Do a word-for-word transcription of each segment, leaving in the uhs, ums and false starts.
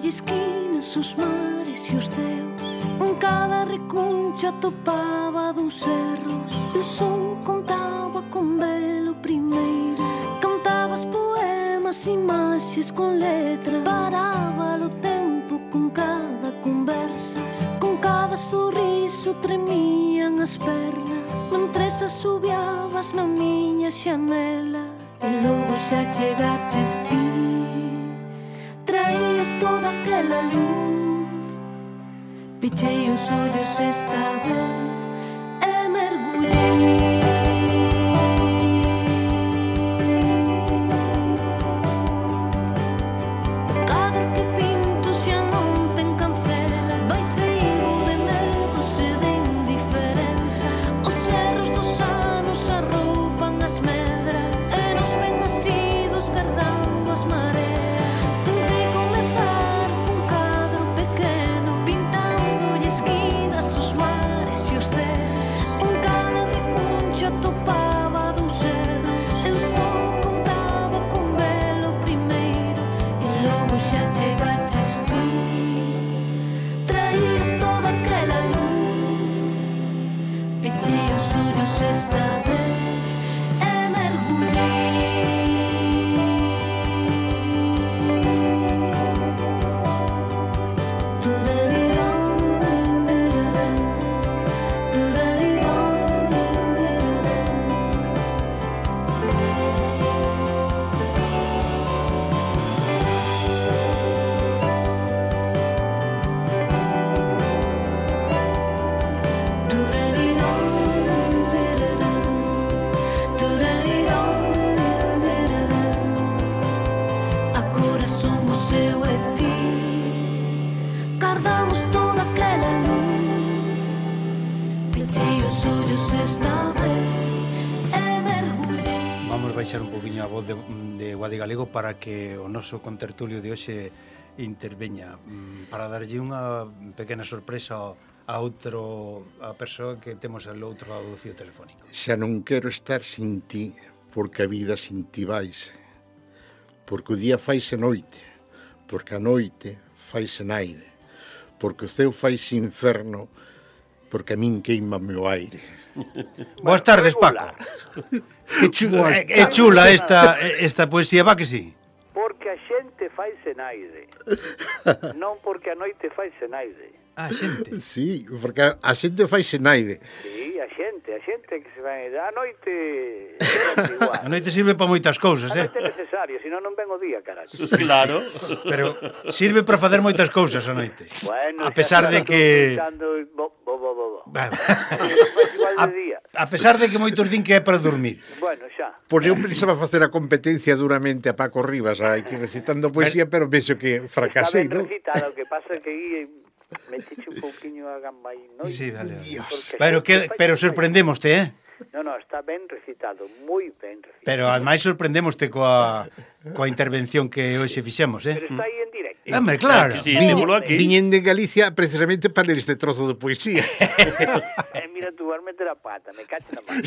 e esquinas, os mares e os ceos. En cada recuncha topaba dos erros. E o sol contaba con velo primeiro. Cantabas poemas, imaxes con letra. Paraba o tempo con cada conversa. Con cada sorriso tremían as pernas. Mentres asubiabas na miña xanela. E logo xa chegaches ti. Traías toda aquela luz. Pechei os ollos esta vez e mergullei. Baixar un poquinho a voz de, de Guadi Galego para que o noso contertulio de hoxe interveña, para darlle unha pequena sorpresa a outro a persoa que temos ao outro lado do fío telefónico. Xa non quero estar sin ti, porque a vida sin ti vais, porque o día faise noite, porque a noite faise naide, porque o ceo faise inferno, porque a min queima o aire. Boas tardes, Paco. Que chula, é chula esta, esta poesía, va que sí? Porque a xente faise naide. Non porque a noite faise naide. A xente? Sí, porque a, a xente faise naide. Sí, a xente, a xente que se vai... A noite... A noite sirve para moitas cousas, eh? A noite é necesaria, senón non ven o día, caralho. Claro. Pero sirve para facer moitas cousas a noite. Bueno, a pesar de que... Pensando... Bo, bo, bo, bo. Bueno. A, a pesar de que moitos din que é para dormir. Bueno, xa. Pois eu pensaba facer a competencia duramente a Paco Rivas, aquí recitando poesía, pero penso que fracasei, non? non? Está ben recitado, o que pasa é que aí metiche un pouquiño a gamba aí, non? Sí, vale. Dios. Pero, que, pero sorprendémoste, eh? No, no, está ben recitado, moi ben recitado. Pero ademais sorprendémoste coa, coa intervención que hoxe fixemos, eh? Pero está aí en directo. Hombre, claro. Sí, Viñen, viñen de Galicia precisamente para ler este trozo de poesía. Eh, mira tú, vas meter a pata, me cacho na mano.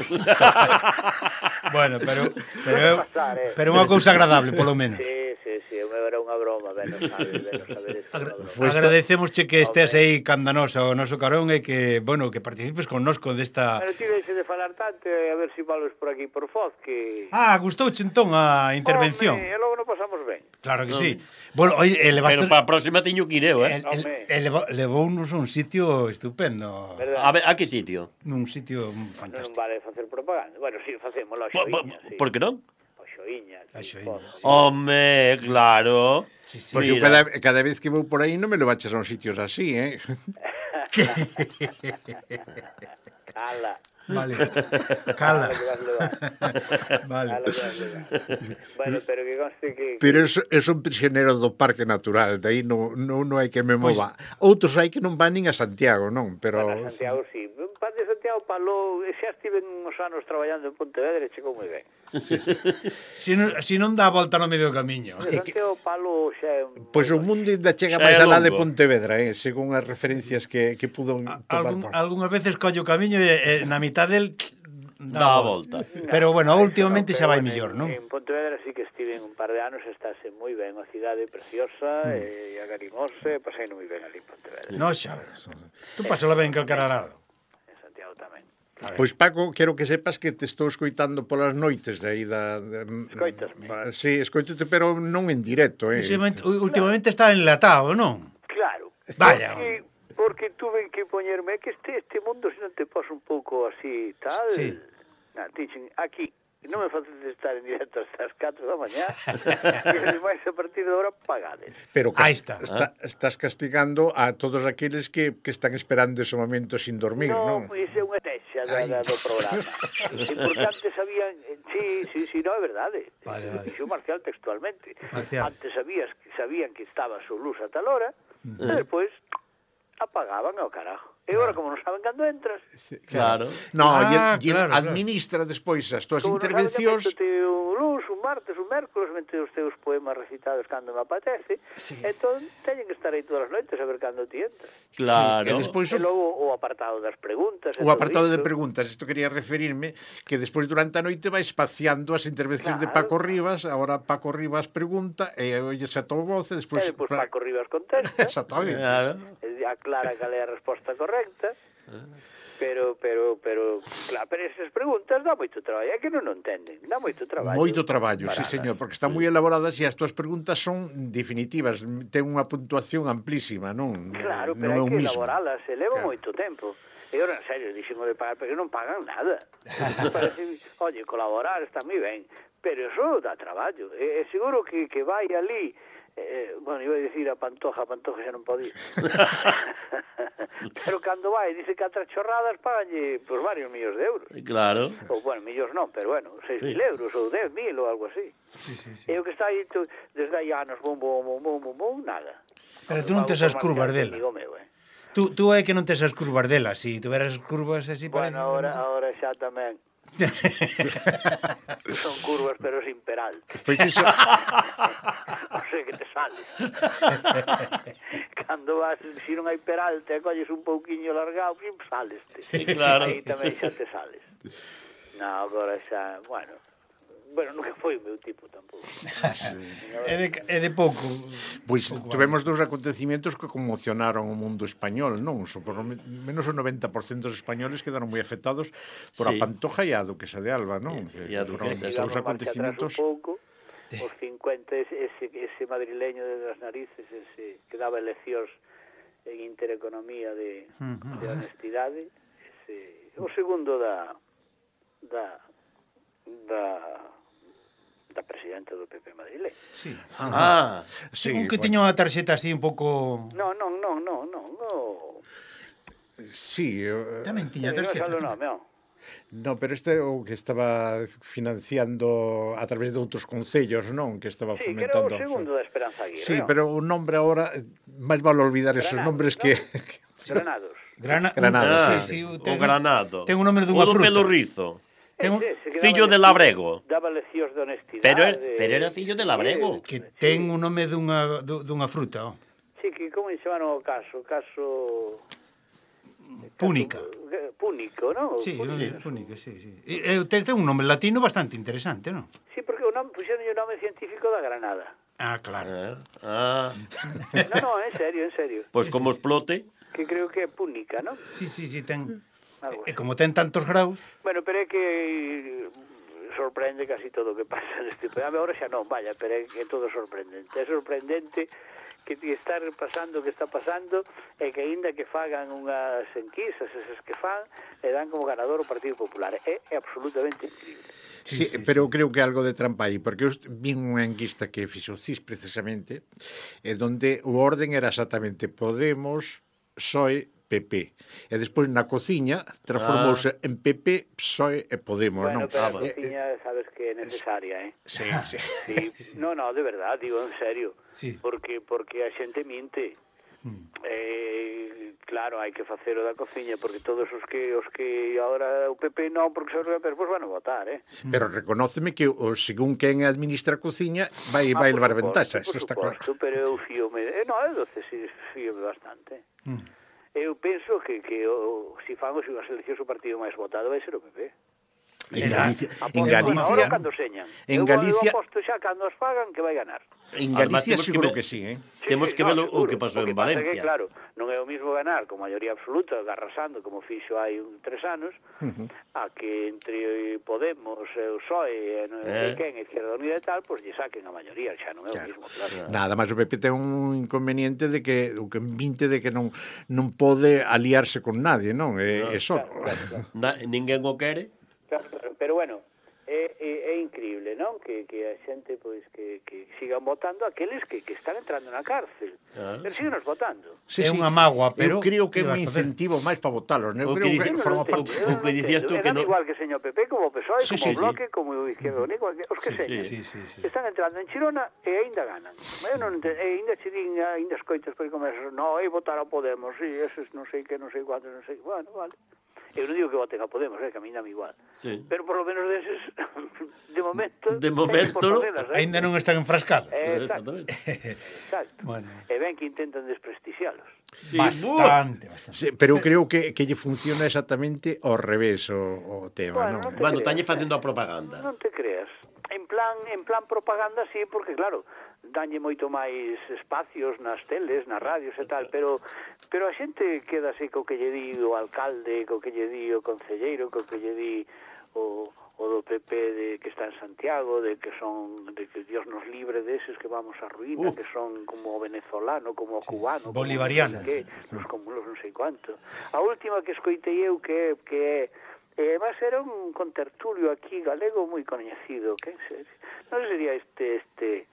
Bueno, pero pero, pasar, eh. pero unha cousa agradable, polo menos. Sí, sí, sí, era unha broma, ben, non sabes, ben, non sabes. Agra agradecemosche que estés aí candanosa o noso carón e que, bueno, que participes connosco desta... Pero ti deixe de falar tanto, a ver se si valos por aquí por Foz, que... Ah, gustouche entón a intervención. Home, e logo non pasamos ben. Claro que sí. Bueno, oye, elevaste... Pero para a próxima teño que ir eu, eh? El, el, levounos a un sitio estupendo. ¿Verdad? A ver, a que sitio? Nun sitio Non fantástico. vale facer propaganda. Bueno, si, sí, facemos a Po, po, Xoiña, sí. por que non? A Xoiña, A sí, Xoiña, Foz, sí. sí. Home, claro. Sí, sí. Pois eu cada, cada vez que vou por aí non me lo baches a uns sitios así, eh? Cala. Vale. Cala. Cala que vas levar. Vale. Cala que vas levar. Bueno, pero que conste que... Pero é, é un prisionero do Parque Natural, de aí non, non, non hai que me mova. Pues, outros hai que non van nin a Santiago, non? Pero... Bueno, a Santiago, sí. Pan de Santiago Palou, xa estiven uns anos traballando en Pontevedra e chegou moi ben. Sí, sí. Si, non, si non dá a volta no medio do camiño. Santiago Palou xa é un... Pois pues o mundo ainda chega Xa máis é alá de longo. Pontevedra, eh? Según as referencias que, que pudo topar. Algún, algunhas veces collo o camiño e, e na mitad del dá a volta. Pero, bueno, últimamente xa vai Pero, mellor, bueno, non? En, en Pontevedra sí que estive un par de anos, estáse moi ben, unha cidade preciosa, e agarimosa, pasei moi ben ali en Pontevedra. No, xa. Tú pásala ben calquera lado. En Santiago tamén. Pois Paco, quero que sepas que te estou escoitando polas noites de aí da... Escoitasme? Sí, escoitote, pero non en directo, eh. Últimamente, últimamente está enlatado, non? Claro. Vaya. Porque, porque tuve que poñerme que este este mundo se non te pos un pouco así tal. Sí. Na, dicen, aquí non me faces estar en directo hasta as catro da mañá. E ademais a partir de ahora pagades. Pero Ahí cas- está. está, estás castigando a todos aqueles que, que están esperando ese momento sin dormir, No, non? pois é unha texa da, da, do programa. Porque antes sabían, sí, sí, sí, no, é verdade. Vale, vale. Dixo Marcial textualmente. Marcial. Antes sabías, sabían que estaba a su luz a tal hora, e despois apagaban ao carajo. E agora, como non saben cando entras, Claro. No, Ah, e, e claro, claro. administra despois as túas como intervencións. non saben cando un luz, un martes, un mércoles, mente os teus poemas recitados cando me apetece, sí. Entón teñen que estar aí todas as noites a ver cando ti entras. Claro. E despois E logo o apartado das preguntas. e o todo apartado de isto. preguntas, isto quería referirme, que despois durante a noite vai espaciando as intervencións de Claro. Paco Rivas, agora Paco Rivas pregunta, e olles a tua voz, e despois... E depois Paco Rivas contesta. Exactamente. Claro. E aclara cal é a resposta correcta. Pero, pero, pero, claro, pero esas preguntas dá moito traballo, é que non o entenden, dá moito traballo. Moito traballo, sí, Paradas. señor, porque están moi elaboradas e as túas preguntas son definitivas, ten unha puntuación amplísima, non? Claro, non pero é hai o que mismo. elaboralas, e leva Claro. moito tempo. E ora, en serio, dixemos de pagar, porque non pagan nada. Parece, oye, colaborar está moi ben, pero eso dá traballo. E, e seguro que, que vai ali, eh, bueno, iba a dicir a Pantoja, a Pantoja xa non podía. Pero cando vai, dice que atra chorradas paganlle por varios millóns de euros. Claro. Ou, bueno, millóns non, pero bueno, seis mil euros ou dez mil ou algo así. Sí, sí, sí. E o que está aí tu, desde hai anos, bum, bum, bum, bum, bum, bum, nada. Pero tú non tes as curvas dela. Amigo meu, eh. Tú, tú é que non tes as curvas dela. Si tuveras curvas así... Bueno, parece- ahora, ahora xa tamén. Son curvas, pero sin peralte. Pois iso, O sea que te sales. Cando vas, se non hai peralte, e colles un pouquiño largado, pim, saleste. Sí, claro. Aí tamén xa te sales. No, agora xa, bueno... Bueno, nunca foi o meu tipo tampouco. É de, é de pouco. pois tivemos dous acontecimientos que conmocionaron o mundo español, non? So, por lo me- menos o noventa por cento dos españoles quedaron moi afectados por a Sí. Pantoja e a Duquesa de Alba, non? E- e a Foron Duquesa, dous Digamos, marcha atrás un acontecimientos... pouco, os cincuenta, ese, ese, ese madrileño de las narices, ese que daba eleccións en intereconomía de, de honestidade, ese, o segundo da da da da presidenta do P P madrileño. Sí. Ah, Sí, Un que bueno, tiña unha tarxeta así un pouco... Non, non, non, non, non, no. sí, eh, Tamén tiña Non tarxeta. sale o nome, non. no, pero este é o que estaba financiando a través de outros concellos, non? Que estaba Sí, que era o fomentando... segundo da Esperanza Aguirre, Sí, non? pero o nombre ahora, máis vale olvidar esos Granados, nombres non? que... Granados. Grana... Granado, ah, sí, sí, o ten- granado. ten un nome dunha O do fruta. pelo rizo. Ten un- Ese, ese que fillo daba de leccións- Labrego. Daba leccións de honestidade. Pero er- pero era fillo de Labrego. Que ten un nome dunha, du- dunha fruta, oh. Sí, que como se chamaron o caso? Caso... Púnica. Caso- Púnico, non? Sí, Púnico. sí. Púnica, sí, sí. E, e ten, ten un nome latino bastante interesante, non? Sí, porque o nome, puxeron o nome científico da Granada. Ah, claro. Ah, Non, non, en serio, en serio. pois como explote. Que creo que é Púnica, non? Sí, sí, sí, ten... Algo E así. como ten tantos graus... Bueno, pero é que sorprende casi todo o que pasa neste programa. Ahora xa non, vaya, pero é que é todo sorprendente. É sorprendente que te está pasando o que está pasando e que aínda que fagan unhas enquisas, esas que fan, e dan como ganador o Partido Popular. É, é absolutamente increíble. Sí, sí, pero sí. Creo que algo de trampa aí, porque eu vin unha enquista que fixo o C I S precisamente, e donde o orden era exactamente Podemos, P S O E, P P. E despois na cociña transformouse ah. en P P, P S O E e Podemos, Bueno, non? pero a Ah, cociña sabes que é necesaria, eh? Sí, sí. Sí, no, no, de verdad, digo en serio. Sí. Porque porque a xente minte. Eh, claro, hai que facer o da cociña porque todos os que os que agora o P P non, porque se os P P pues van a votar, eh? Pero reconóceme que o según quen administra a cociña vai Ah, vai por levar suposto, ventaxa, por eso está claro. suposto, pero eu fíome, eh, no, eu doce si fíome bastante. Eu penso que que o, si fan as eleccións o partido máis votado vai ser o P P. En Galicia, Aposto, en Galicia, agora cando señan. en Eu- Galicia, Eu aposto xa cando as pagan que vai ganar. en Además, Galicia temos que seguro ver- que sí, eh? Temos que ver o seguro. que pasou O en pasa Valencia. Que, claro, non é o mismo ganar con maioría absoluta, arrasando como fixo hai un tres anos, Uh-huh. a que entre Podemos, e o P S O E, e non sei Eh. quen, Izquierda Unida e tal, pois lle saquen a maioría, xa non é Claro. o mismo, claro. Nada máis o P P ten un inconveniente de que o que vinte de que non non pode aliarse con nadie, non? É, é só. Claro, claro, claro. Na, ninguén o quere. Claro, claro. Pero bueno, é, é, é increíble, non? Que, que a xente, pois, que, que sigan votando aqueles que, que están entrando na cárcel. Ah. Pero síguenos votando. Sí, É sí. unha mágoa, pero eu creo que é que un vas facer? incentivo máis para votalos, non? Eu O que creo dice- que Eu non forma entendo, parte. eu o non que dicías entendo. tú E que dame non- igual que señor P P, como o P S O E, Sí, como sí, o Bloque, sí. como o Izquierda Unida, os que Sí, señan. Sí, sí, sí. Están entrando en Chirona e aínda ganan. Eu non entendo, e aínda che din, aínda escoitas por aí como esos, no, ei votar a Podemos, sí, esos non sei que, non sei cuántos, non sei, bueno, vale. Eu non digo que voten a Podemos, eh, que a mí dame igual. Sí. Pero por lo menos deses, de momento... De momento, teñen por no. facelas, eh. Aínda non están enfrascados. Eh, exacto, Exactamente. exacto. Bueno. E ven que intentan desprestixialos. Sí, Bastante, bastante. Sí, pero eu creo que, que lle funciona exactamente ao revés o, o tema, Bueno, non? non te Bueno, creas, tañe eh. facendo a propaganda. Non te creas. En plan, en plan propaganda sí, porque claro, danlle moito máis espacios nas teles, nas radios e tal, pero pero a xente queda así co que lle di o alcalde, co que lle di o concelleiro, co que lle di o, o do P P de que está en Santiago, de que son de que Dios nos libre deses que vamos a ruína, Uf. que son como o venezolano, como o cubano, Bolivariano. como non sei que, los cúmulos non sei cuánto. A última que escoitei eu que que é E además era un contertulio aquí galego moi coñecido, que non sería este este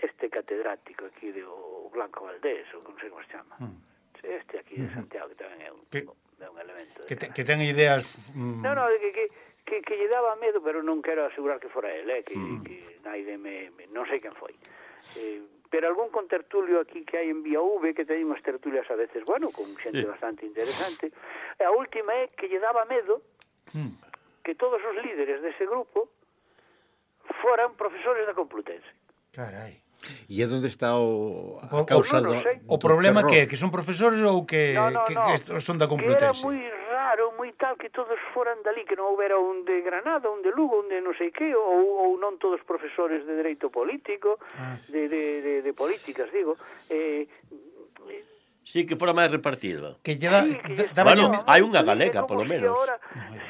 este catedrático aquí de o Blanco Valdés, ou non sei como se chama. Mm. Este aquí de Santiago, que tamén é un, Que- é un elemento. Que, te, que ten ideas... Mm, No, no, de que, que, que, que lle daba medo, pero non quero asegurar que fora ele, eh, que, Mm. que naide me, me... Non sei quen foi. Eh, pero algún contertulio aquí que hai en Vía V, que teñen unhas tertulias a veces, bueno, con xente Sí. bastante interesante. E a última é que lle daba medo mm. que todos os líderes dese grupo foran profesores da Complutense. Carai. E é onde está o, O- a causa o- non do, sei. O do problema terror. que é? Que son profesores ou que, no, no, que, no. que son da Que era Complutense? moi raro, moi tal, que todos foran dali, que non houbera un de Granada, un de Lugo, un de non sei que, ou, ou non todos profesores de dereito político, Ah. de, de, de, de políticas, digo. Eh, Sí, que fora máis repartido. Que lle da, Sí, que da, lle- daba Bueno, lle- hai unha É galega, como polo si menos. Ahora,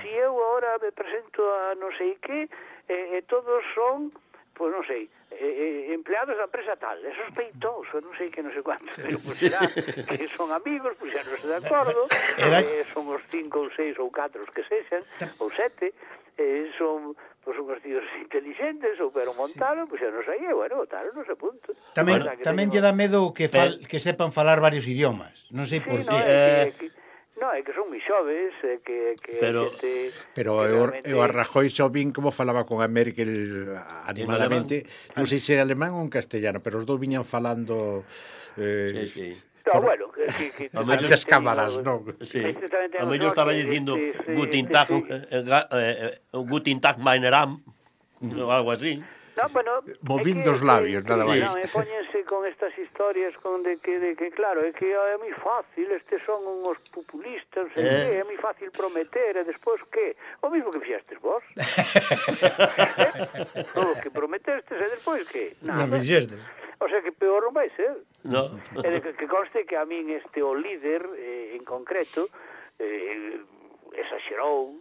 si eu agora me presento a non sei que, e eh, eh, todos son, pois non sei, eh, eh, empleados da empresa tal, é sospeitoso, non sei que, non sei cuánto, pero pois será que son amigos, pois xa non se de acordo, Era- eh, son os cinco ou seis ou catro os que sexan, ou sete, eh, son pois unhos tíos intelixentes, ou pero montaron, pois xa non sei, e, bueno, votaron, non sei punto. Tamén, O sea, que tamén teño- lle dá medo que, fal, que sepan falar varios idiomas. Non sei Sí, por no, qué. é Eh, que, é que, no, é que son moi xoves, é que, que Pero- xente, Pero que eu, realmente- eu a Rajoy só vin como falaba con a Merkel animadamente, non sei se é alemán ou en castellano, pero os dous viñan falando eh, Sí, sí. No, por- bueno, que, que, que A ante mellor- as cámaras, non? Sí. Este tamén ten A un mellor so estaba que dicindo este- Guten este- Tag, eh, ga- eh, eh, Guten Tag, meine Ram, ou algo así. No, bueno, Movindo é os labios, nada máis. Non, e póñense con estas historias con de que, de que claro, é que é moi fácil, estes son uns populistas, sei Eh. que, é moi fácil prometer, e despois que? O mismo que fixestes vos. O que prometestes, e despois que? Non Nada. fixestes. O sea que peor non vai ser. No. E de que, que conste que a min este o líder eh, en concreto eh, exagerou,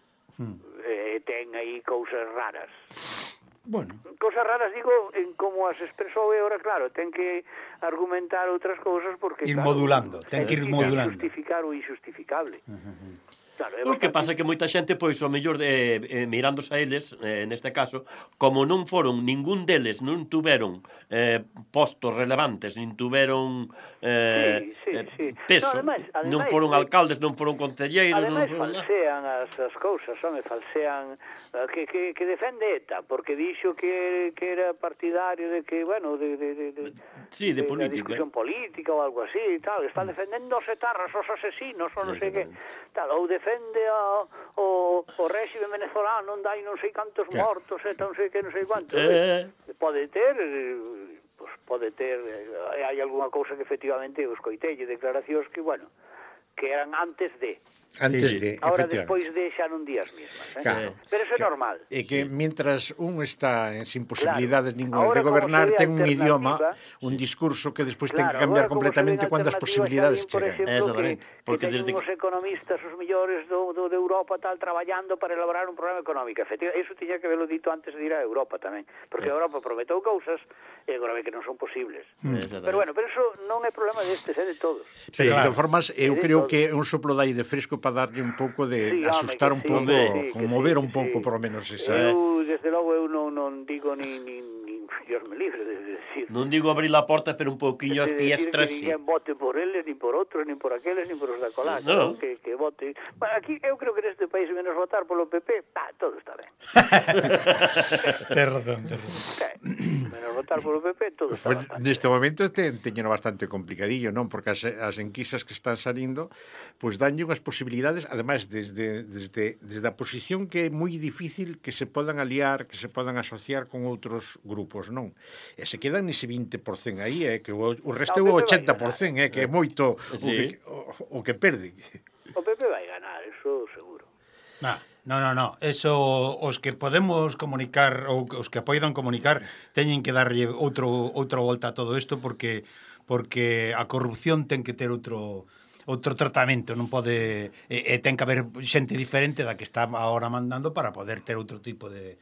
eh, ten aí cousas raras. Bueno, Cousas raras, digo, en como as expresou e ahora, claro, ten que argumentar outras cousas porque, Ir claro, modulando, ten que ir ten modulando. justificar o injustificable. Claro, é O que bastante- pasa é que moita xente, pois, o mellor, eh, eh, mirándose a eles, eh, neste caso, como non foron, ningún deles non tuveron eh, postos relevantes, nin tuveron eh, Sí, sí, eh, sí. peso, No, ademais- non ademais, foron eh, alcaldes, non foron concelleiros, non Ademais, foron... falsean as, as cousas, son, e falsean eh, que, que, que defende ETA, porque dixo que, que era partidario de que, bueno, de, de, de, de, Sí, de de política. da discusión política ou algo así, e tal, están defendendo os etarras, os asesinos, ou non sei que, tal, ou defende a, o, o réxime venezolano, onde hai non sei cantos Claro. mortos, e non sei que, non sei cuántos. Eh. Pode ter, eh, pues pode ter, eh, hai algunha cousa que efectivamente eu escoitei, declaracións que, bueno, que eran antes de. Antes Sí. de, Ahora, efectivamente. despois de, xa non días mismas. Eh? Claro. Pero eso é normal. E que mientras un está en sin posibilidades Claro. ninguna de Ahora, como gobernar, se ve ten un idioma, alternativa, un discurso que despois Claro, ten que cambiar agora, como se completamente ven cando as alternativas, posibilidades xa hai, por chegan. exemplo, Exactamente, que, porque que teñen desde os economistas, os mellores do, do, de Europa tal, traballando para elaborar un programa económico. Efectivamente, eso tiña que haberlo dito antes de ir a Europa tamén, porque Eh. a Europa prometeu cousas e agora ve que non son posibles. Exactamente. Pero bueno, pero eso non é problema destes, é de todos. Pero, claro. de todas formas, eu de creo todo. que é un soplo de aire fresco para darlle un pouco de Sí, home, asustar que un sí, pouco, que sí, que conmover sí, un que pouco, sí. por lo menos, esa. Eu, desde logo, eu non, non digo ni, ni, ni Dios me libre de decir. Non digo abrir a porta, pero un pouquiño as de decir fiestras, que sí. ninguén vote por eles, ni por outros, ni por aqueles, ni por os da cola, No. que, que vote. Bueno, aquí eu creo que neste país menos votar polo P P, ah, todo está ben. Ten razón, ten razón. Eh, menos votar polo P P, todo está Pues, bastante. neste momento te, teñeno bastante complicadillo, non? Porque as, as enquisas que están salindo pois pues, danlle unhas posibilidades, ademais desde, desde, desde a posición que é moi difícil que se podan aliar, que se podan asociar con outros grupos, non? E se quedan nese vinte por cento aí, eh, que o, o resto é No, o o P P vai ochenta por cento, eh, que é moito o, Sí. que, o, o que perde. O P P vai ganar, eso seguro. No, no, no, no. Eso, os que podemos comunicar ou os que poidan comunicar teñen que darlle outro outra volta a todo isto porque porque a corrupción ten que ter outro outro tratamento, non pode e, e ten que haber xente diferente da que está agora mandando para poder ter outro tipo de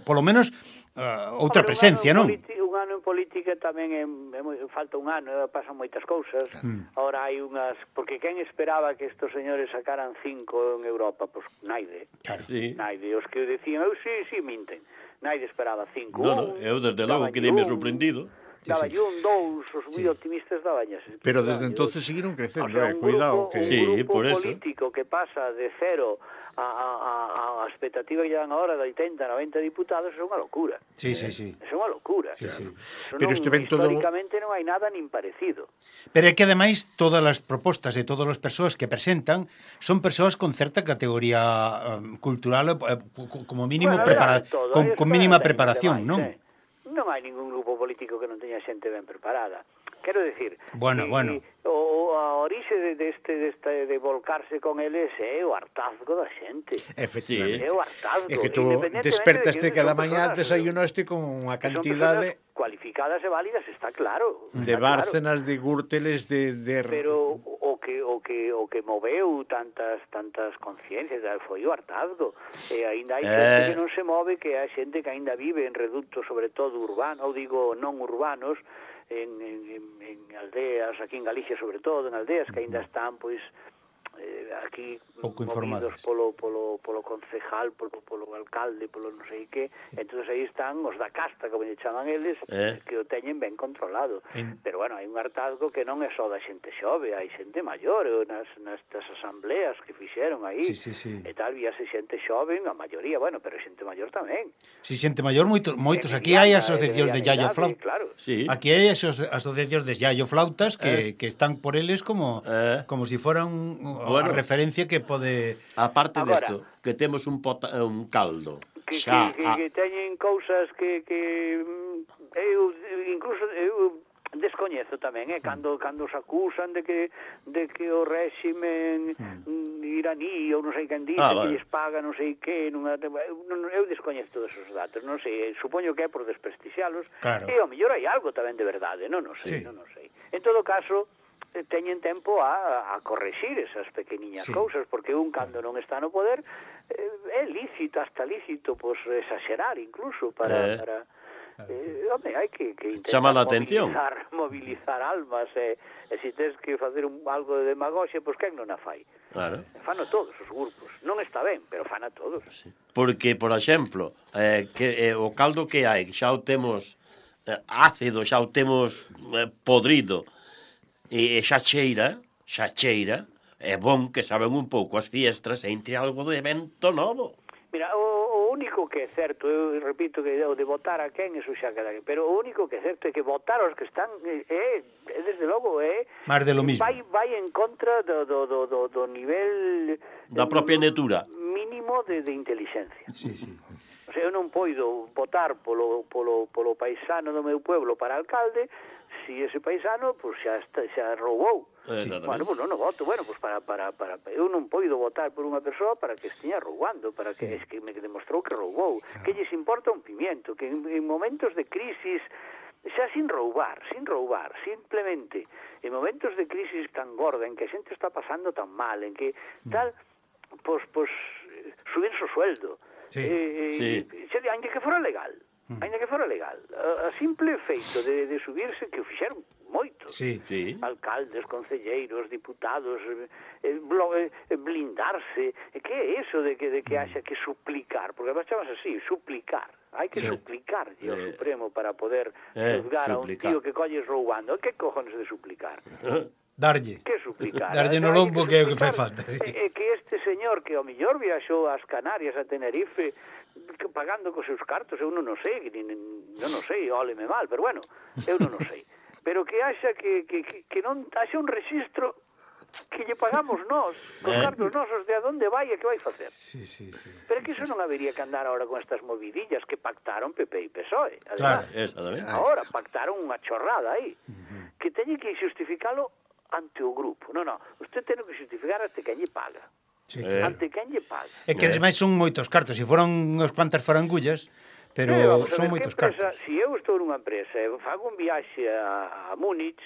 polo menos uh, outra Hombre, presencia, un ano non? en politi- un ano en política tamén é, é moi, falta un ano, eh, pasan moitas cousas. Mm. Ahora hai unhas, porque quen esperaba que estos señores sacaran cinco en Europa? Pois pues, naide. Claro. Sí. Naide, os que decían, eu sí, sí, minten. Naide esperaba cinco. No, no, un, eu desde logo daballe quedei me un, sorprendido. Daballe un, dous, os moi Sí. optimistas dabañas. Pero desde entonces seguiron O crecendo, sea, eh, un cuidado. grupo, Que... un Sí, grupo por eso. político que pasa de cero a, a, a, a expectativa que lle dan ahora de oitenta, noventa diputados é unha locura. Sí, sí, sí. É unha locura. Sí, sí. Eso Pero non, este ven todo- históricamente non hai nada nin parecido. Pero é que ademais todas as propostas e todas as persoas que presentan son persoas con certa categoría um, cultural eh, co- como mínimo Bueno, prepara hai todo, con, hai con as mínima cosas preparación, demais, non? eh. Non hai ningún grupo político que non teña xente ben preparada. Quero decir, Bueno, que bueno. o, a orixe de, deste, deste, de volcarse con eles é o hartazgo da xente. Efectivamente. É o hartazgo. É que tú independentemente despertaste de que cada son mañá, personas, desayunaste con unha que son cantidade personas cualificadas e válidas, está claro. de está bárcenas, de gúrteles, de... de... Pero o que o que o que moveu tantas tantas conciencias foi o hartazgo. E aínda hai xente Eh. que non se move, que hai xente que aínda vive en reductos, sobre todo urbanos, ou digo non urbanos, en, en, en, en aldeas, aquí en Galicia sobre todo, en aldeas que aínda están pois eh, aquí Pouco movidos informados. polo, polo, polo concejal, polo, polo alcalde, polo non sei que, entonces aí están os da casta, como lle chaman eles, Eh. que o teñen ben controlado. En- Pero bueno, hai un hartazgo que non é só da xente xove, hai xente maior, e nas, nestas asambleas que fixeron aí, Sí, sí, sí. e tal, víase xente xove, a maioría, bueno, pero xente maior tamén. Si xente maior, moitos, moitos. E Aquí hai mediana, asociacións e de mediana Yayo idade, Flautas. Claro. Sí. Aquí hai aso- asociacións de Yayo Flautas que, que están por eles como Eh. como si fueran Bueno. a referencia que pode... Aparte Agora- desto, que temos un, pota, un caldo. Que, Xa, que, que, a- que teñen cousas que, que mm, eu incluso eu descoñezo tamén, eh, cando cando os acusan de que de que o réximen mm. iraní ou non sei quen dice Ah, que vale. lles paga non sei que, non, eu, non, eu descoñezo todos esos datos, non sei, supoño que é por desprestixialos, Claro. e ao mellor hai algo tamén de verdade, non o sei, Sí. non o sei. En todo caso, eh, teñen tempo a, a correxir esas pequeniñas Sí. cousas, porque un cando non está no poder eh, é lícito, hasta lícito, pois exagerar incluso para... Eh. para eh, home, hai que, que intentar Chama a atención. movilizar, movilizar almas e, e se tens que facer un, algo de demagoxia, pois quen non a fai? Claro. Fano todos os grupos, non está ben, pero fana todos. Sí. Porque, por exemplo, eh, que eh, o caldo que hai, xa o temos eh, ácido, xa o temos eh, podrido, e, e xa cheira, xa cheira, é bon que saben un pouco as fiestras e entre algo de evento novo. Mira, o, o único que é certo, eu repito que o de votar a quen, eso xa queda, pero o único que é certo é que votar aos que están é, é, é desde logo, é Máis de lo mismo. vai, vai en contra do, do, do, do, do nivel Da propia netura. mínimo de, de inteligencia. Sí, sí. O sea, eu non poido votar polo, polo, polo paisano do meu pueblo para alcalde si ese paisano pues xa está, xa roubou. Exactamente. Bueno, pues non o voto, bueno, pues para, para, para, eu non poido votar por unha persoa para que estiña roubando, para que, es que me demostrou que roubou, que lles importa un pimiento, que en, en momentos de crisis, xa sin roubar, sin roubar, simplemente en momentos de crisis tan gorda, en que a xente está pasando tan mal, en que tal, pues, pues subirse o sueldo, Sí. eh, Sí. xa, ainda que fora legal, ainda que fora legal, a, a simple feito de, de subirse, que o fixeron moitos, Sí. Sí. alcaldes, concelleiros, diputados, eh, blo, eh, blindarse, eh, que é eso de que, de que haxa que suplicar, porque además chamas así, suplicar, hai que Sí. suplicar ao Eh, Supremo para poder eh, juzgar a un suplicar. tío que colles roubando, que cojones de suplicar? Darlle. Que suplicar? Darlle no Hai lombo que é o que fai suplicar. falta, sí. É que este señor que ao millor viaxou ás Canarias, a Tenerife, que pagando cos seus cartos, eu non o sei, nin, non o sei, óleme mal, pero bueno, eu non o sei. Pero que haxa que, que, que, que non haxa un registro que lle pagamos nós, cos Eh. cartos nosos, de a donde vai e que vai facer. Sí, sí, sí. Pero é que iso non habería que andar ahora con estas movidillas que pactaron P P e P S O E. Claro. Además, Exactamente. ahora pactaron unha chorrada aí, que teñe que xustificalo ante o grupo. Non, non, usted ten que xustificar ante quen lle paga. Sí, Eh. claro. Ante quen lle paga. É que ademais son moitos cartos, se foron unhas cuantas farangullas, pero Sí, vamos a son ver, moitos que empresa, cartos. se eu estou nunha empresa e fago un viaxe a, a Múnich,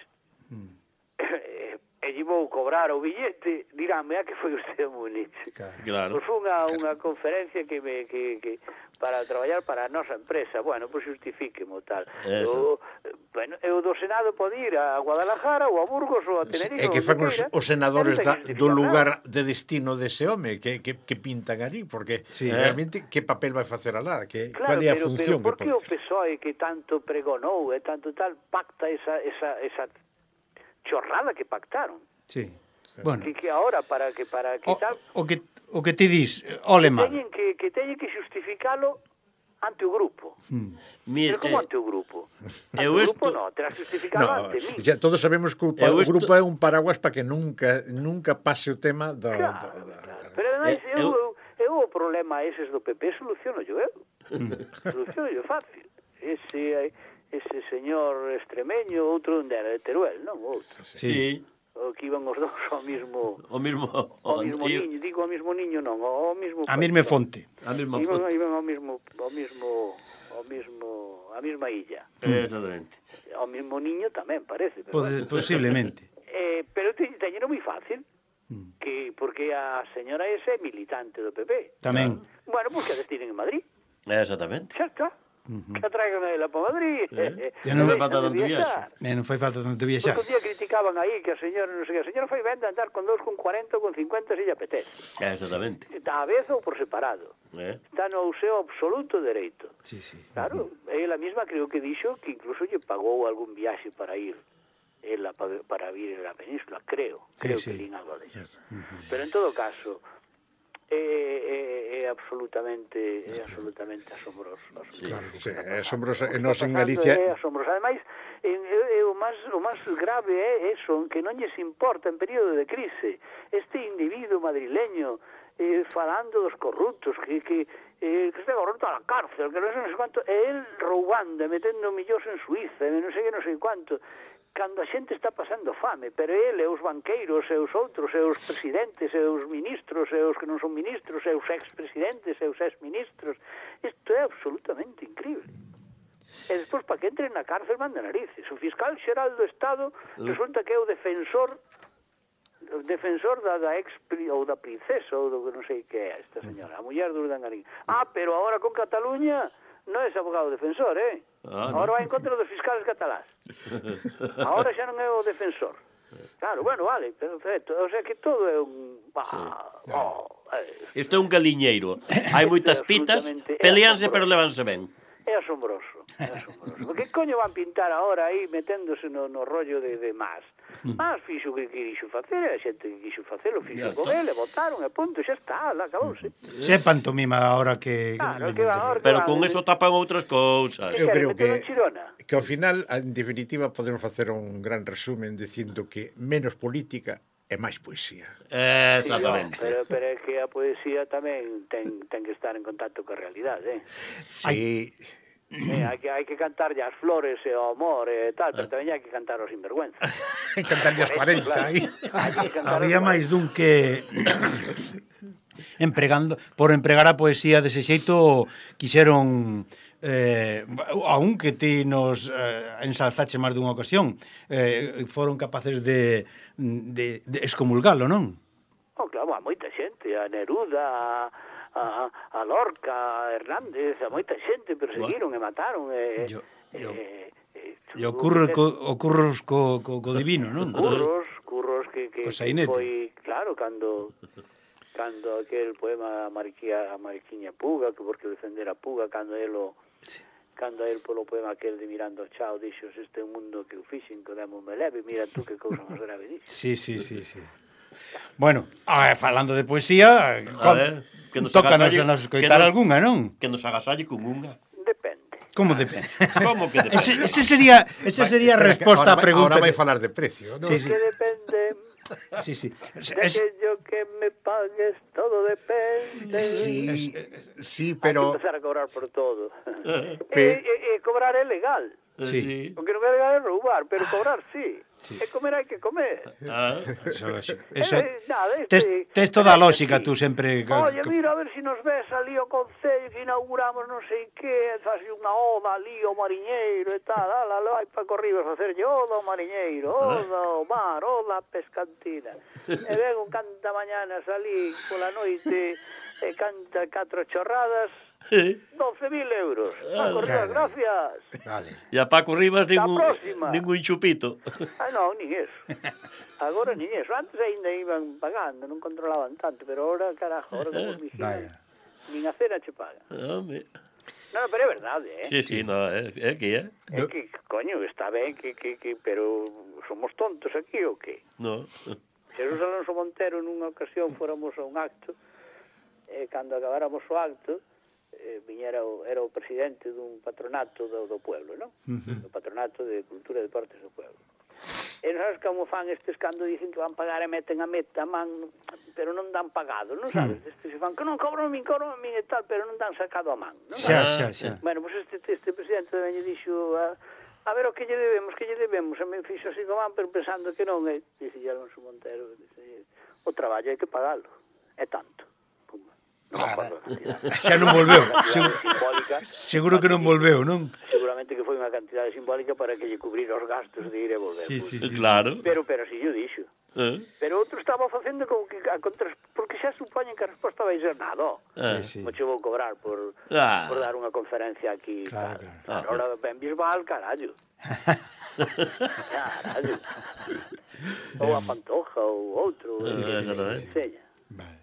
Mm. e, e lle vou cobrar o billete, diránme, a que foi usted a Múnich? Claro. Claro. Pois foi unha, unha conferencia que me que, que para traballar para a nosa empresa. Bueno, pois justifíquemo tal. Eso. O, bueno, eu do Senado pode ir a Guadalajara ou a Burgos ou a Tenerife. É que onde fan os, queira, os senadores e non ten da, que do justificar lugar nada. de destino dese home que, que, que pintan ali, porque Sí. realmente que papel vai facer alá, que, Claro, cual é a pero, función pero por que que o pode P S O E que tanto pregonou e tanto tal pacta esa, esa, esa chorrada que pactaron? Sí. Bueno, Que, que ahora para que para que o, tal o que o que ti dis, ole mal. teñen que, que teñen que justificalo ante o grupo. Mira, Pero como eh, ante o grupo? Ante eu o isto- grupo non, terás que justificalo No, ante mí. ya todos sabemos que o, pa- Eu o isto- grupo é un paraguas para que nunca nunca pase o tema do, Claro, do, do, claro. Pero ademais, Eh, eu, eu- eu, eu o problema eses do P P soluciono yo eu. Soluciono yo fácil. Ese, ese señor extremeño, outro onde era de Teruel, non? Outro. sí, O que iban os dous ao mismo... o mismo Ao mismo e- niño, digo ao mismo niño non, ao mismo... A mesma fonte. a mesma Iban, foto. iban ao mismo, ao mismo, ao mismo, á mesma illa. Exactamente. Ao mismo niño tamén parece, pero Pode, posiblemente. Eh, pero te, teñeno moi fácil, Mm. que porque a señora ese é militante do P P. Tamén. Bueno, pues que a destinen en Madrid. Exactamente. Xa está. Que a traigan a ela para Madrid. Eh, Ya non me Deixan falta de tanto viaxar. Eh, non fai falta tanto viaxar. Porque un día criticaban aí que a señora, non sei que, a señora foi venda andar con dous, con cuarenta ou con cincuenta se lle apetece. Exactamente. Está a vez ou por separado. Eh? Está no seu absoluto dereito. Sí, sí. Claro, ela mesma creo que dixo que incluso lle pagou algún viaxe para ir ela para, para vir a la península, creo, creo Sí, que sí. lín algo de eso. Pero en todo caso é, é, é absolutamente é absolutamente asombroso. Sí. asombroso. Sí, é asombroso. E O que nós está en pasando Galicia é asombroso. Ademais, en, é, é o máis o máis grave é eso, que non lles importa en período de crise este individuo madrileño eh, falando dos corruptos que, que, eh, que está corrupto a la cárcel, que non sei, non sei quanto, e el roubando, e metendo millóns en Suiza, e non sei que, non sei quanto, cando a xente está pasando fame, pero ele, os banqueiros, e os outros, e os presidentes, e os ministros, e os que non son ministros, e os ex-presidentes, e os ex-ministros, isto é absolutamente increíble. E despois, para que entren na cárcel, manda narices. O fiscal xeral do Estado resulta que é o defensor o defensor da, da ex ou da princesa ou do que non sei que é esta señora, a muller do Urdangarín. Ah, pero agora con Cataluña non é abogado defensor, eh? Ah, no. Agora vai en contra dos fiscales catalás. Agora xa non é o defensor. Claro, bueno, vale, perfecto. O sea que todo é un... Bah, Sí. oh, eh, Isto é un galiñeiro. Hai moitas pitas, Absolutamente. peleanse pero levanse ben. É asombroso, é asombroso. Porque coño van pintar agora aí meténdose no, no rollo de, de más? Más fixo que quixo facer, a xente que quixo facelo, fixo Ya con está. ele, votaron, e punto, xa está, lá acabouse. Se é pantomima ahora que... Claro, que van ahora que Pero van, con eh, eso tapan outras cousas. Eu queren creo meter que- en Chirona? que ao final, en definitiva, podemos facer un gran resumen dicindo que menos política e máis poesía. Exactamente. Pero, pero é que a poesía tamén ten, ten que estar en contacto coa realidade, eh? Sí, Eh, hai que hai que cantarlle as flores e o amor e tal, pero tamén hai que cantar os sinvergüenza. Cantarlle as cuarenta aí. Había máis dun que empregando por empregar a poesía dese xeito quixeron eh, aún que ti nos eh, ensalzache máis dunha ocasión eh, foron capaces de, de, de excomulgalo, non? Oh, claro, a moita xente, a Neruda, a, a Lorca, a Hernández, a moita xente perseguiron e mataron e... Yo, yo. E, e, E ocurre co, ocurros co, co, co divino, non? Curros, curros que, que, Co que sainete. foi, claro, cando cando aquel poema a Mariquía, a Mariquiña Puga, que porque defender a Puga, cando elo Sí. cando el polo poema aquel de Mirando ao Chao dixo, este é un mundo que o fixen, que demo me leve, mira tú que cousa máis grave dixo. Sí, sí, sí, sí. Bueno, a ver, falando de poesía, A ver, que nos tócanos agasalle- a nos que coitar nos- algunha, non? Que nos agasalle con unha. Depende. Como depende? Como que depende? Ese, ese sería, ese sería a Espera, que resposta ahora á pregunta. Ahora vai que- falar de precio, non? Sí, sí. Que depende Sí, sí. de Es, aquello que me pagues, todo depende. Sí, sí, Pero... pero Hay que empezar a cobrar por todo. Pe- e, e, e cobrar é legal. Sí. O que non é legal é roubar, pero cobrar sí. E comer hai que comer. Ah, eso, eso, eso, Eh, nada, tes, este- tes toda a este lógica, sí. tú sempre... Oye, mira, a ver si nos ves ali o concello que inauguramos non sei que, faz unha oda ali ao mariñeiro e tal, ala, ala, vai para corriba a facerlle oda ao mariñeiro, oda ao mar, oda á pescantina. E ven un canta mañanas ali pola noite e canta catro chorradas, doce mil euros. Paco Rivas, gracias. vale. e a Paco Rivas ningún, próxima. ningún chupito. Ah, non, nin eso. Agora nin eso. Antes ainda iban pagando, non controlaban tanto, pero ahora, carajo, ahora como os vigilan, Vaya. nin a cena che pagan. Home. Non, pero é verdade, eh? Sí, sí, no, é, é que é. É que, coño, está ben que, que, que, pero somos tontos aquí ou que? No. Xesús Alonso Montero nunha ocasión fóramos a un acto e cando acabáramos o acto eh, viñera o, era o presidente dun patronato do, do pueblo, non? Uh-huh. Do patronato de Cultura e Deportes do pueblo. E non sabes como fan estes cando dicen que van pagar e meten a meta a man, pero non dan pagado, non sabes? Hmm. Estes se fan que non cobran a min, cobran a min e tal, pero non dan sacado a man, non? Xa, xa, xa. Bueno, pois pues este, este presidente tamén lle dixo a, a ver o que lle debemos, que lle debemos, e me fixo así como van, pero pensando que non, e dice Alonso Montero, dice, o traballo hai que pagalo, é tanto. Pumba. Non me acordo da cantidade. Xa non volveu. Cantidade Seguro, simbólica, seguro que non volveu, non? seguramente que foi unha cantidade simbólica para que lle cubrir os gastos de ir e volver. Sí, sí, sí. Claro. Pero, pero si yo dixo. Eh? Pero outro estaba facendo como que a contra... porque xa supoñen que a resposta vai ser nada. Ah. Sí, sí. Mo che vou cobrar por, Ah. por dar unha conferencia aquí. Claro, tal. claro. Ahora ben Bisbal, carallo. Carallo. Ou a Pantoja ou outro. Sí, eh, sí, sí, sí. enseña. Vale.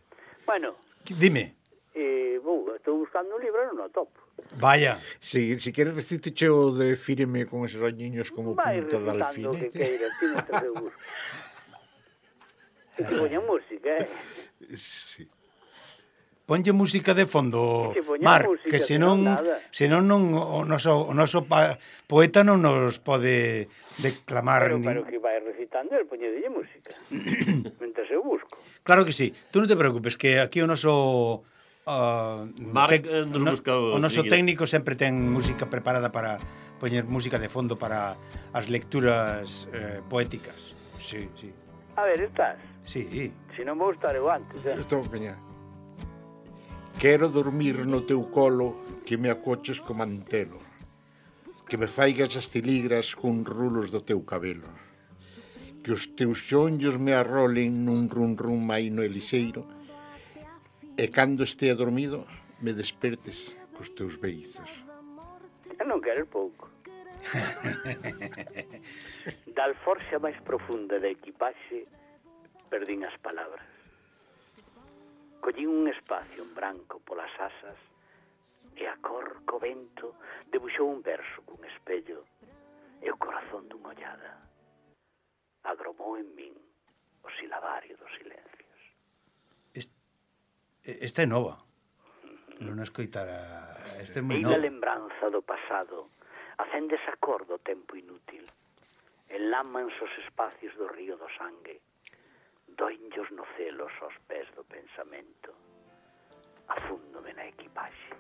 Bueno, Dime. eh, vou, estou buscando un libro e non o topo. Vaya. Si, si queres recite o de Fíreme con esos añiños como Vai punta de recitando o que alfinete. queiras, ti non te eu busco. E que poña música, eh? Sí. Ponlle música de fondo, Que se poña Mar, música, que que senón, non nada. senón non o noso, o noso pa, poeta non nos pode declamar Pero, nin... pero que vai recitando, el poñedelle música. Mentre eu busco. Claro que sí. Tú non te preocupes, que aquí o noso uh, Marc, eh, nos o, no- busca o o noso seguido. técnico sempre ten música preparada para poñer música de fondo para as lecturas eh, poéticas. Sí, sí. A ver, estás. Sí. Se non vou estar eu antes, eh? Estou peña. Quero dormir no teu colo, que me acoches co mantelo, que me faigas as tiligras cun rulos do teu cabelo, que os teus xonllos me arrolen nun run run maino e lixeiro, e cando estea dormido me despertes cos teus beizos. Eu non quero pouco. Da alforxa máis profunda da equipaxe perdín as palabras. Collín un espacio en branco polas asas e a cor co vento debuxou un verso cun espello e o corazón dunha ollada. Agromou en min o silabario dos silencios. Esta é nova. Non escoitara. Esta é moi E nova. a lembranza do pasado acende esa cor do tempo inútil. Enlámanse os espacios do río do sangue. Doinllos no celos aos pés do pensamento. Afúndome na equipaxe.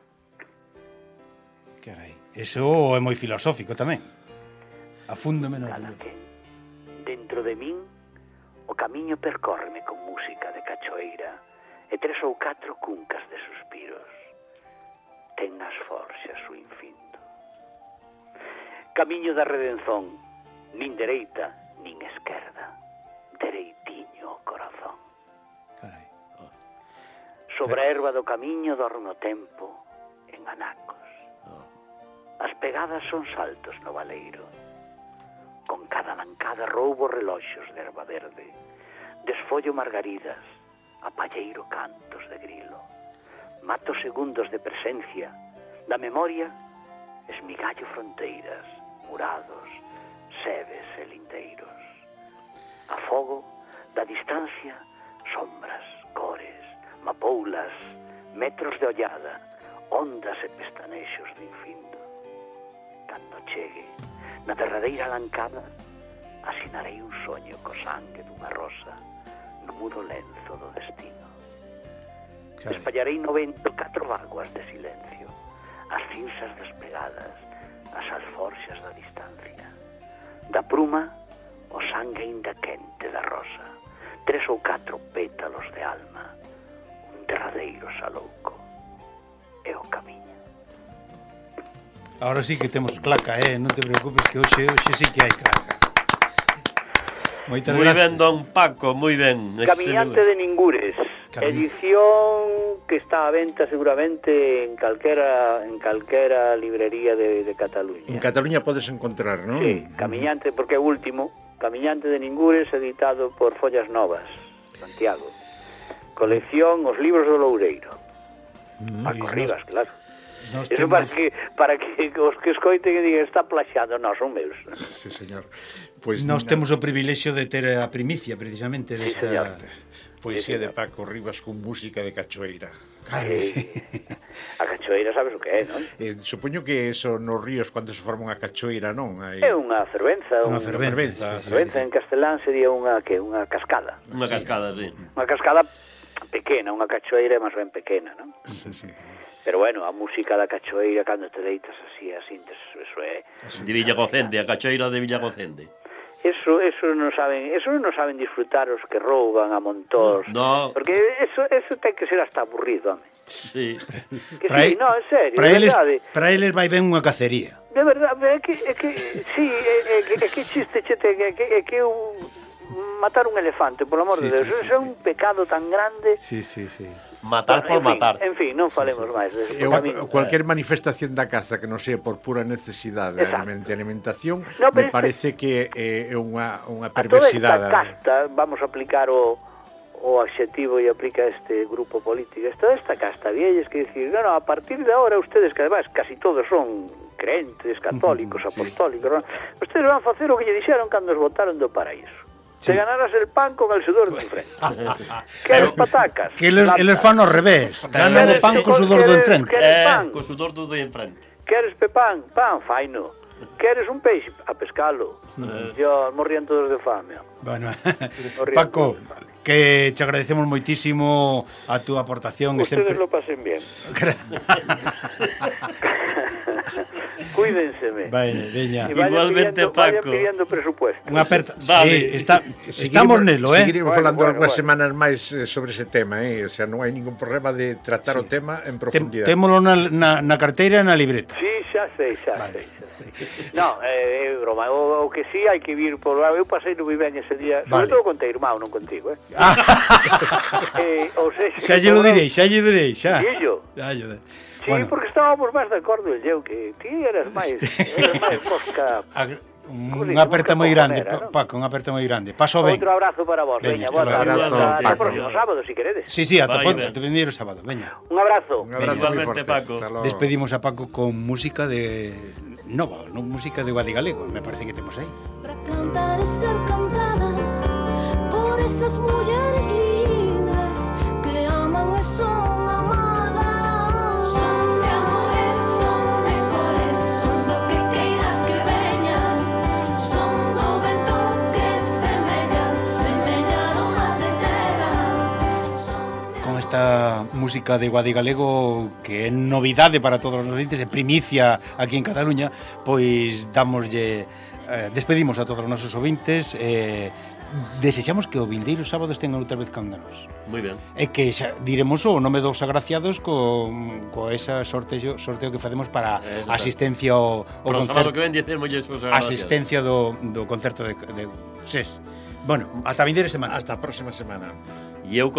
Carai, eso é moi filosófico tamén. Afúndome no Cala que, dentro de min, o camiño percórreme con música de cachoeira e tres ou catro cuncas de suspiros. Ten nas forxas o infindo. Camiño da redenzón, nin dereita, nin esquerda, dereitiño o corazón. Carai. Sobre a erva do camiño dorme o tempo en anacos. As pegadas son saltos no valeiro. Con cada lancada roubo reloxos de erva verde. Desfollo margaridas, apalleiro cantos de grilo. Mato segundos de presencia, da memoria esmigallo fronteiras, murados, sebes e lindeiros. Afogo da distancia sombras, cores, mapoulas, metros de ollada, ondas e pestanexos do infindo. Cando chegue, na derradeira lancada, asinarei un soño co sangue dunha rosa no mudo lenzo do destino. Carai. Espallarei no vento catro vaguas de silencio, as cinzas despegadas, as alforxas da distancia. Da pruma, o sangue ainda quente da rosa, tres ou catro pétalos de alma, un derradeiro salouco e o camiño. Ahora sí que temos claca, eh? Non te preocupes que hoxe, hoxe sí que hai claca. Moitas Moi ben, gracias. don Paco, moi ben. Camiñante de Ningures, Cami- edición que está a venta seguramente en calquera en calquera librería de, de Cataluña. En Cataluña podes encontrar, non? Sí, Camiñante, porque é o último, Camiñante de Ningures, editado por Follas Novas, Santiago. Colección Os Libros do Loureiro. Paco Pois Rivas, nos- claro. Nos Eso para temos, que, para que os que escoiten e digan está plaxado, non, son meus. Sí, señor. Pois nos na- temos o privilexio de ter a primicia precisamente desta... señor. Poesía Sí, de Paco Rivas con música de cachoeira. Claro, Sí. sí. A cachoeira sabes o que é, non? Eh, supoño que eso nos ríos cando se forma unha cachoeira, non? Hai... É unha fervenza, Unha un- fervenza, sí, sí, fervenza en castelán sería unha que unha cascada. Unha cascada, sí. Unha cascada pequena, unha cachoeira é máis ben pequena, non? Sí, sí. Pero bueno, a música da cachoeira cando te deitas así, así, eso é. De Villagocende, a cachoeira de Villagocende. Eso, eso non saben, eso non saben disfrutar os que rouban a montós. No. Porque eso, eso ten que ser hasta aburrido, home. Sí. Que Para sí, e- no, en serio, para de eles, verdade. para eles vai ben unha cacería. De verdade, é que, é que sí, é, é, que, é que chiste che ten, é que, é que un, matar un elefante, por amor Sí, de Deus, sí, sí, eso é sí. un pecado tan grande. Sí, sí, sí. Matar por en fin, matar. En fin, non falemos máis de eso. Eu, porque a mí- cualquier manifestación da caza que non sea por pura necesidade de Exacto. aliment- de alimentación, No, pero me este- parece que é é unha, unha a toda esta perversidade. casta, vamos a aplicar o, o adxetivo e aplica este grupo político, toda esta casta vielles que dicir, no, no, a partir de ahora ustedes, que además casi todos son crentes, católicos, apostólicos, ¿no? Ustedes van a facer o que lle dixeron cando os votaron do paraíso. Sí. Te ganarás el pan con el sudor de enfrente. Queres patacas? Que eles, Plata. eles fan ao revés. Ganan o Queres- pan co sudor do queres- enfrente. queres Eh, pan? co sudor do de enfrente. Queres pepán? Pan, faino. Queres un peixe? A pescalo. Dios, morrían todos de fame. Bueno, Morrían Paco, todos de fame. que te agradecemos moitísimo a túa aportación. e Ustedes sempre... lo pasen bien. Cuídenseme. Vai, veña. Y vayan Igualmente, pidiendo, vayan Paco. pidiendo presupuesto. Unha aperta. Vale. Sí, está, estamos nelo, eh? Seguiremos Bueno, falando bueno, algunhas bueno. semanas máis eh, sobre ese tema, eh? O sea, non hai ningún problema de tratar o tema en Tem, profundidade. témolo na, na, na carteira e na libreta. Sí, xa sei, xa sei, xa sei. No, é eh, broma, o, o que sí hai que vir por lá. Eu pasei no ben ese día, sobre Vale. todo con teu irmão, non contigo, eh? Ah, eh ou seja, xa lle lo direi, xa lle direi, xa. Dillo. Xa lle direi. Sí, bueno, porque estábamos máis de acordo eu que ti eras máis, eras máis fosca. Ag- Como Unha digo, aperta moi moi grande, cojonera, Pa- Paco, unha aperta moi grande. Paso ben. Outro abrazo para vos, veña, Veña, boa hasta tarde. luego. Hasta Abrazo, o Paco. próximo sábado, si queredes. Sí, sí, ata Vai, pon- ben. ata venir o sábado, veña. Un abrazo. Un abrazo moi Igualmente, forte. Paco. Hasta logo. Despedimos a Paco con música de nova, no música de Guadigalego, me parece que temos aí. Para cantar y ser cantada por esas mujeres lindas que aman y son amadas. Son de amores, son de cores, son do que queiras que veñan, son do vento que semella, semella no más de terra. Son de Con con esta música de Guadi Galego que é novidade para todos os ouvintes, é primicia aquí en Cataluña, pois damoslle eh, despedimos a todos os nosos ouvintes e eh, desexamos que o vindeiro sábado estén outra vez cándanos. Moi ben. E que xa diremos o nome dos agraciados con, co esa sorteo, sorteo que facemos para Exacto. asistencia ao, ao Para o concerto. sábado que ven dicemos esos agraciados. Asistencia do, do concerto de, de S E S. Bueno, ata vindeira semana. Hasta a próxima semana. E eu